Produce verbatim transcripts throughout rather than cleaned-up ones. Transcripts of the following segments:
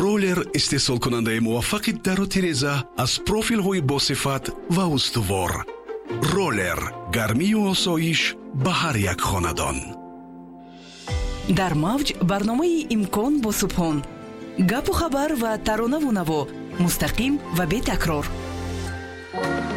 Роллер истеҳсолкунандаи муваффақи дару тиреза аз профилҳои босифат ва устувор. Роллер гармию осоиш ба ҳар як хонадон. Дар мавҷ барномаи «Имкон» бо Субҳон. Гапу хабар ва таронаву наво мустақим ва бетакрор.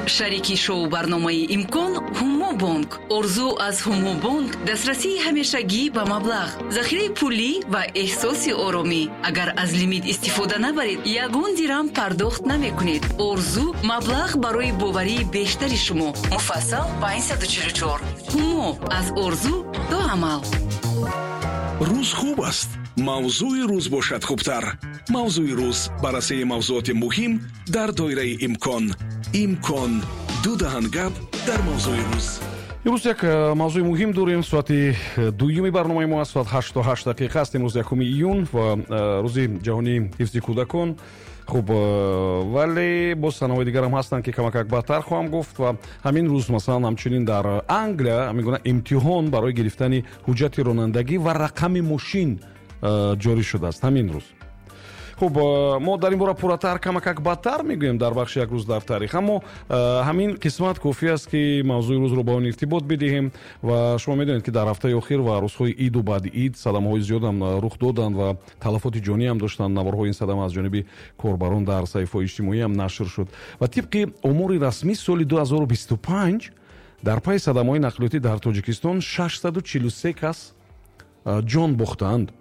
Шарики шоу барномаи «Имкон» Ҳумо Бонк. Орзу аз Ҳумо Бонк дастрасии ҳамешагӣ ба маблағ, захираи пулӣ ва эҳсоси оромӣ. Агар аз лимит истифода набаред, ягон дирам пардохт намекунед. Орзу маблағ барои боварии бештари шумо. Муфассал панҷсаду чилу чор. Ҳумо аз орзу то амал. Рӯз хуб аст, мавзӯи рӯз бошад хубтар. «Мавзӯи рӯз» баррасии мавзӯоти муҳим дар доираи имкон. «Имкон» ду даҳан гап дар мавзӯи рӯз. Имрӯз як э, мавзӯи муҳим дорем. Соати э, дуюми барномаи мо аст, соат ҳашту ҳашт дақиқа аст. Имрӯз якуми июн ва э, рӯзи ҷаҳонии ҳифзи кӯдакон. Хуб, вале боз санаҳои дигарам ҳастанд, ки камакак баъдтар хоҳам гуфт. Ва ҳамин рӯз, масалан, ҳамчунин дар Англия ҳамин гуна имтиҳон барои гирифтани ҳуҷҷати ронандагӣ ва рақами мошин ҷорӣ шудааст ҳамин рӯз. Хуб, мо дар ин бора пурратар камакак баъдтар мегӯем дар бахши «Як рӯз дар таърих», аммо ҳамин қисмат кофӣ аст, ки мавзӯи рӯзро ба он иртибот бидиҳем. Ва шумо медонед, ки дар ҳафтаи охир ва рӯзҳои иду баъди ид садамаҳои зиёдам рух доданд ва талафоти ҷониам доштанд. Наворҳои ин садама аз ҷониби корбарон дар саҳифаҳои иҷтимоиам нашр шуд. Ва тибқи омори расмӣ, соли ду ҳазору бисту панҷ дар пайи садамаҳои нақлиётӣ дар Тоҷикистон шашсаду чилу се кас ҷон бохтаанд.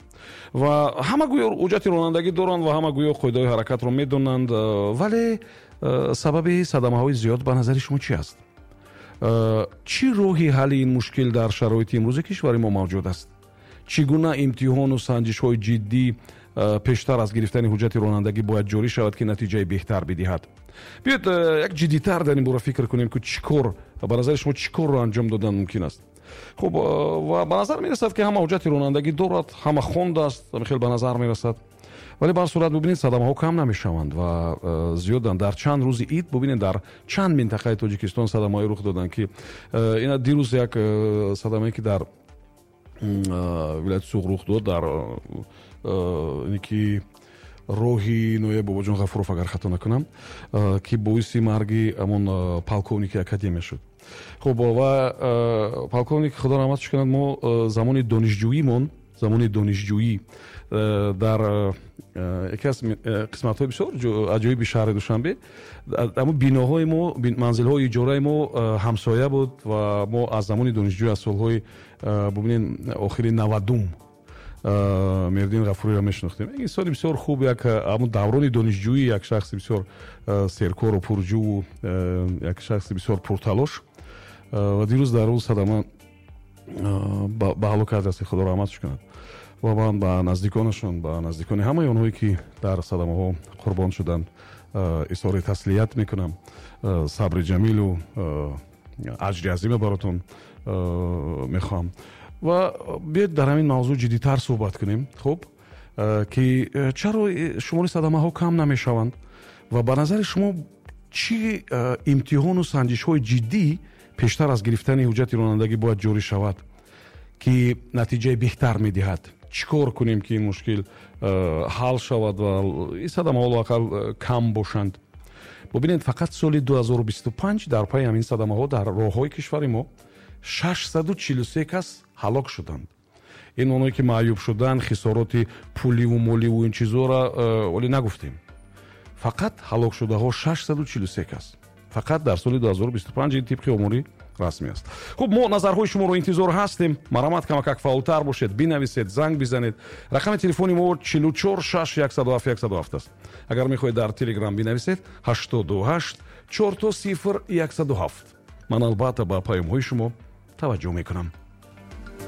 Ва ҳама гӯё ҳуҷҷати ронандагӣ доранд ва ҳама гӯё қоидаҳои ҳаракатро медонанд, вале сабаби садамаҳои зиёд ба назари шумо чӣ аст? Чӣ роҳи ҳалли ин мушкил дар шароити имрӯзи кишвари мо мавҷуд аст? Чӣ гуна имтиҳону санҷишҳои ҷиддӣ пештар аз гирифтани ҳуҷҷати ронандагӣ бояд ҷорӣ шавад, ки натиҷаи беҳтар бидиҳад? Биёед, як ҷиддитар дар ин бора фикр кунем, ки чӣ кор, ба назари шумо, чӣ корро анҷом додан мумкин аст. Хуб, ва ба назар мерасад, ки ҳама ҳуҷҷати ронандагӣ дорад, ҳама хондааст, хеле ба назар мерасад, вале ба ҳар сурат, бубинед, садамаҳо кам намешаванд ва зиёданд. Дар чанд рӯзи ид, бубинед, дар чанд минтақаи Тоҷикистон садамаҳое рух доданд, ки ина дирӯз як садамае, ки дар вилояти Суғд рух дод, дар ине ки роҳи ноҳияи Бобоҷон Ғафуров, агар хато накунам, ки боиси марги ҳамон полковники академия шуд. Хуб, ва полковник, Худо раҳматш кунад, мо замони донишҷӯимон, замони донишҷӯӣ дар яке аз қисматҳои бисёр аҷоиби шаҳри Душанбе, ҳамон биноҳои мо, манзилҳои иҷораи мо ҳамсоя буд. Ва мо аз замони донишҷӯӣ, аз солҳои, бубинед, охири навадум Меҳриддин Ғафуриро мешинохтем. Як инсони бисёр хуб, як ҳамон даврони донишҷӯӣ як шахси бисёр серкору пурҷӯву як шахси бисёр пурталош. Ва дирӯз дар рӯз садама ба ҳалокат расид. Худо раҳматш кунад ва ман ба наздиконашон, ба наздикони ҳамаи онҳое, ки дар садамаҳо қурбон шуданд, изҳори таслият мекунам. Сабри ҷамилу аҷри азима баротон мехоҳам. Ва биёед, дар ҳамин мавзӯъ ҷиддитар суҳбат кунем. Хуб, ки чаро шумори садамаҳо кам намешаванд ва ба назари шумо чӣ имтиҳону санҷишҳои ҷиддӣ пештар аз гирифтани ҳуҷҷати ронандагӣ бояд ҷорӣ шавад, ки натиҷаи беҳтар медиҳад? Чӣ кор кунем, ки ин мушкил ҳал шавад ва ин садамаҳо лоақал кам бошанд? Бубинед, фақат соли ду ҳазору бисту панҷ дар пайи ҳамин садамаҳо дар роҳҳои кишвари мо шашсаду чилу се кас ҳалок шуданд. Ин оное ки маъюб шуданд, хисороти пуливу моливу ин чизҳоро вале нагуфтем. Фақат ҳалокшудаҳо шашсаду чилу се кас фақат дар соли ду ҳазору бисту панҷ, ин тибқи омори расмӣ аст. Хуб, мо назарҳои шуморо интизор ҳастем. Марҳамат, камакак фаъолтар бошед, бинависед, занг бизанед. Рақами телефони мо чилу чор шаш яксаду ҳафт яксаду ҳафт аст. Агар мехоҳед, дар Телеграм бинависед: ҳаштоду ҳашт чор то сифр яксаду ҳафт. Ман албатта ба паёмҳои шумо таваҷҷӯҳ мекунам.